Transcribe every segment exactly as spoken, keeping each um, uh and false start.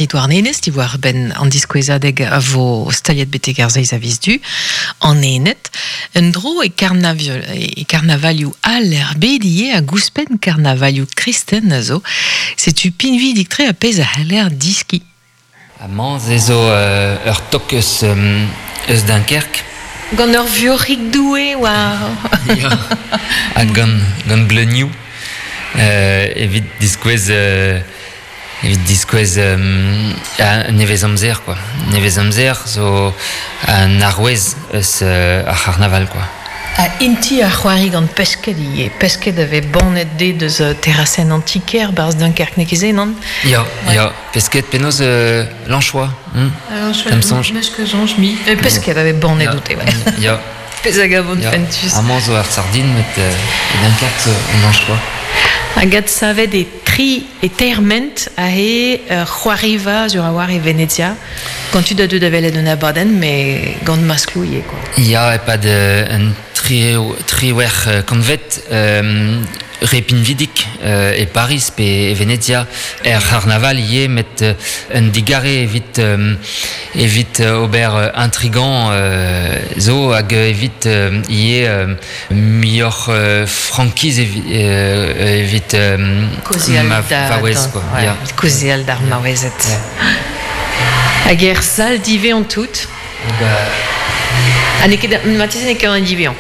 maerdi Douarnenez, diwar ben an diskouezadeg a vo staliet betek ar zeiz a viz du, an enet, un dro e, karnavio, e karnavalioù al er bedie a gouspen karnavalioù kristen a zo, setu pinvidik tre a pezh a c'heller diski. A mañ ze zo euh, ur tok eus, um, eus Dunkerque. Gant ur vuoc'hig doue war... Ya, ha gant, gant bleunioù. Euh, evit diskouez... Euh, evit diskouez euh, a nevez amzer, quoi. Nevez amzer zo an arouez eus euh, ar c'harnaval, quoi. A inti a c'hoari gant pesket ivez. Pesket avait bannet de deus terrassen antiquaire barz Dunkerque ne ket non? Ya, ouais. Ya, pesket penaos euh, l'anchois. Hmm? L'anchois, sonj. Meus ket soñj mi. Euh, pesket avait bannet Ya. oute, ouais. Ya. Pezh hag a vont Ya. fentus. Amañ zo ar sardine, met euh, e Dunkerque zo an anchois. Hag ad savet e tri e terment a he uh, c'hoariva sur a war e Venezia. Gant tu da deut da welet un abadenn, me gant maskloù ivez, quoi. Ya, epad euh, un tri, triwec'h euh, kantved, euh, re pinvidik euh, e Paris pe e Venezia er c'harnaval ivez met euh, un digare evit euh, evit euh, ober euh, intrigant euh, zo hag evit euh, ivez euh, muioc'h euh, frankiz evi, euh, evit euh, Kaozeal ma da, vaouez, da- quoi. ouais, Ya. kaozeal d'ar maouezed. Hag er sal divean tout. Ba, Ha n'eo ket marteze n'eo ket an divean.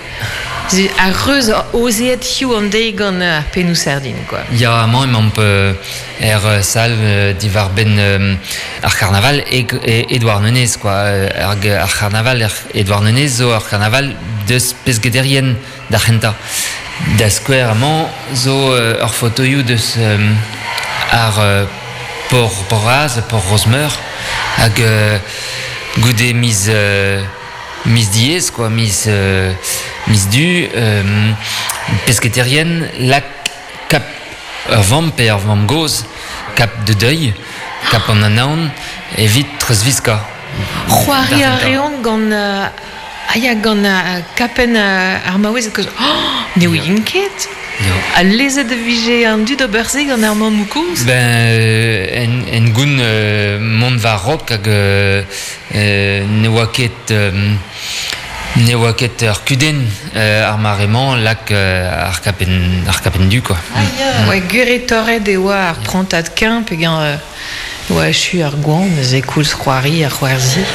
Ze ar reuz ozeet hiziv an deiz gant ar pennoù sardin, quoi. Ya, amañ emaomp euh, er euh, sal euh, diwar benn euh, ar c'harnaval e, e e Douarnenez, quoi. Ar, ar c'harnaval er e Douarnenez zo ar c'harnaval deus peskederien d'ar c'hentañ. Da skouer amañ zo euh, ur fotoioù deus euh, ar euh, por Poraz, por Rosmeur, hag euh, goude miz, euh, miz diez, quoi, miz, euh, miz du, euh, pesketerien lak kap ur vamm pe ur vamm gozh, kap de deuil, kap an anaon, evit treuzviskañ. C'hoari a D'ar c'hentañ. reont gant euh, ah ya, gant euh, kapenn euh, ar maouez kozh. Oh, ne ouien ket. Ya. Ha lezet e vije an dud ober se gant ar mammoù kozh. Ben, euh, en, en goun euh, mont war raok hag euh, euh, ne oa ket euh, ne oa ket ur kudenn euh, ar mare-mañ lak euh, ar kapenn, ar kapenn du, quoi. Ah ya, ouais, gure torret e oa ar prantad keñv pe gant euh, oa echu ar goan, neuze koulz c'hoari ar c'hoarzi.